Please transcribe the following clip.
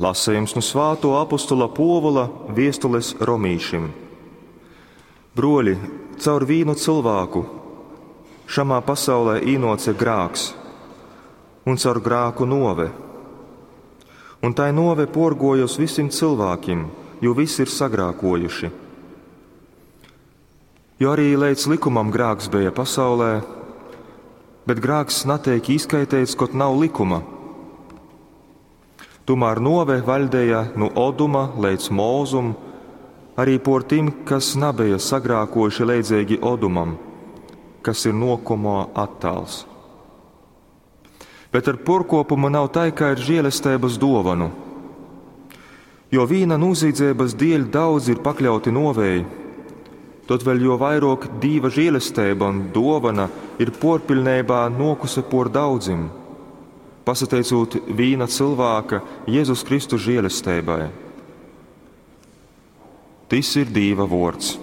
Lasejums nu svātuo apostola Puovula viestules romīšim. Bruoļi, caur vīnu cylvāku šamā pasaulē īnuoce grāks, un caur grāku nuove. Un tai nuove puorguoja uz vysim cylvākim, jo vysi ir sagrākuojuši. Jo arī leidz lykumam grāks beja pasaulē, bet grāks nateik īskaiteits, kod nav lykuma. Tūmār nuove vaļdeja nu Oduma leidz Mozum, arī por tim, kas nabeja sagrākojuši leidzeigi Odumam, kas ir nokomo attāls. Bet ar porkopumu nav tai, kā ar žēlestības dovanu. Jo vīna nozīdzības dēļ daudz ir pakļauti novēji, tad vēl jo vairāk Dīva žēlestība un dovana ir porpilnībā nokuse por daudzim, pasateicot vīna cilvēka Jēzus Kristus žēlestībai. Tis ir Dīva vords.